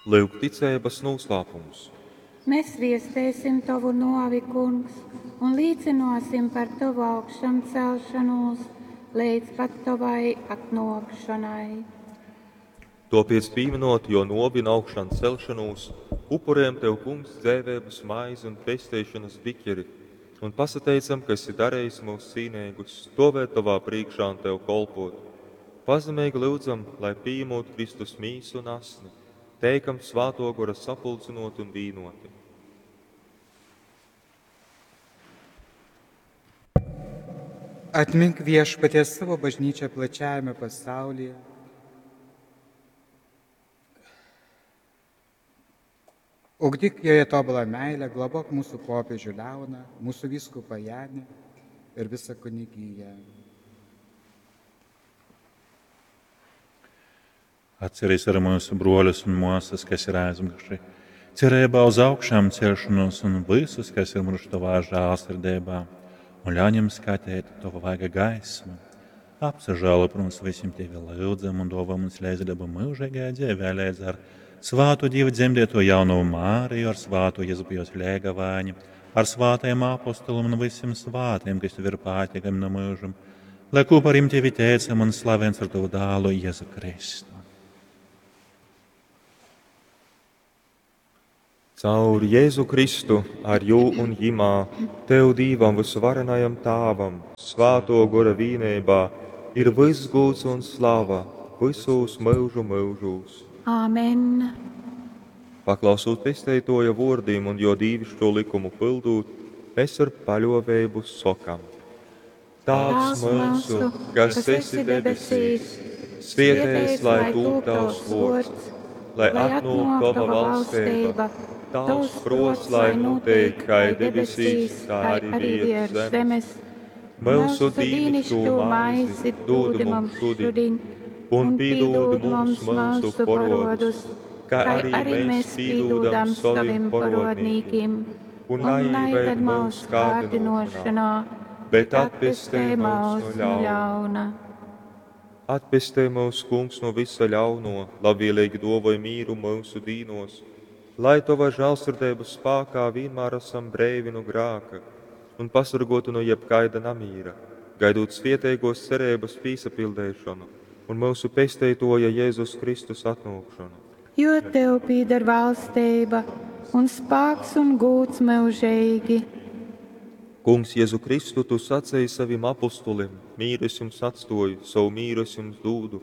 Lyuk ticeibas nūslāpums. Mēs viestēsim tovu nōvi, Kungs, un līcynōsim par tovu augšamcelšanūs leidz pat tovai atnōkšonai. Tōpēc pīminot jō nōvi un augšan celšanūs, upurējam Tev, Kungs, dzeiveibas maizi un pesteišanas biķeri, un pasateicam, ka esi darījis mūs cīneigus, stovēt Tovā priekšā un Tev kolpot. Pazemeigi lyudzam, lai pījemot Kristus mīsu un asni, teikam Svātō Gora sapulcinot un vīnoti. Atmink viešpatie savo bažnyčią plačiajame pasaulyje. Ugdyk joje tobulą meilę, globok mūsų popiežių Leoną, mūsų vyskupą Janį ir visą kunigiją. Atcerīs arī mūsu broļus un māsas, kas ir aizmiruši, cerībā uz augšām celšanos un visus, kas ir miruši tavā žēlsirdībā, un ļauj viņiem skatīt tavu vaiga gaismu. Apsažēlo par mums visiem tevi lūdzam un dāvā mums līdzdalību mūžīgajā dzīvē, līdz ar svātu Dievu dzemdēto jauno Māriju, ar svāto Jēzu jos Lēgavāņu, ar svātajiem apostoliem un visiem svātiem, kas tev ir patīkami no mūžam, lai kopā ar viņiem tevi teicam un slavens ar tavu dēlu Jēzu Kristu. Caur Jēzu Kristu, ar jū un jimā, Tev Dīvam visuvarenajam Tāvam, Svāto Gora vīnībā, ir viss gūds un slava visos mūžu mūžos. Āmen. Paklausot pesteitoja vōrdim un jo dīvišķo likumu pildūt, mēs ar paļovēbu sokam. Tāvs mūsu, kas esi debesīs, svietēs, lai tūp tavs vōrds, lai atnāk tava valstība, tavs prots, lai notiek kā debesīs, tā arī virs zemes. Mūsu dīnišķo maizi dod mums šodien, un piedod mums mūsu porodus, kā arī mēs piedodam saviem porodnīkiem, un neieved mūsu kārdinošanā, bet atpestī mūs no ļauna. Atpestī mūs, Kungs, no visa ļauno, labvēlīgi dovoj mīru mūsu dīnos, lai Tava žēlsirdības spākā vienmēr esam breivi no grāka un pasargotu no jebkaida namīra, gaidot svietēgos cerības pīsapildēšanu un mūsu pesteitoja Jēzus Kristus atnākšanu. Jo Tev pieder valstība un spāks un gūts mūžīgi. Kungs, Jēzu Kristu, Tu sacīji saviem apustulim, mīru es jums atstoju, savu mīru es jums dūdu.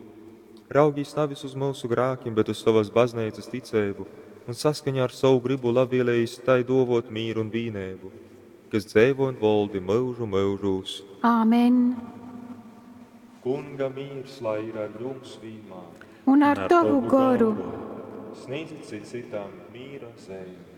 Raugīs nevis uz mūsu grākiem, bet uz tavas baznīcas ticību, un saskaņā ar savu gribu labvēlējis tai dovot mīru un vīnēbu, kas dzēvo un voldi mūžu mūžūs. Āmen. Kunga mīrs, lai ir ar jums vienmēr. Un ar tavu goru. Sniedzit cit citam mīra zīmi.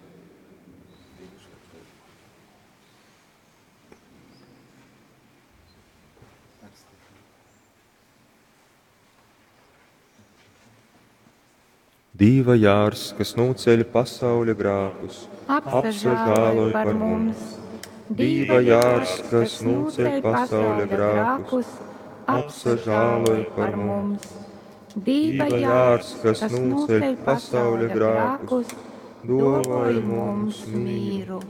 Dīva jārs, kas nūceļ pasauļa grākus, Apsažāloj par mums. Dīva jārs, kas nūceļ pasauļa grākus, apsažāloj par mums. Dīva jārs, kas nūceļ pasauļa grākus, dovoj mums mīru.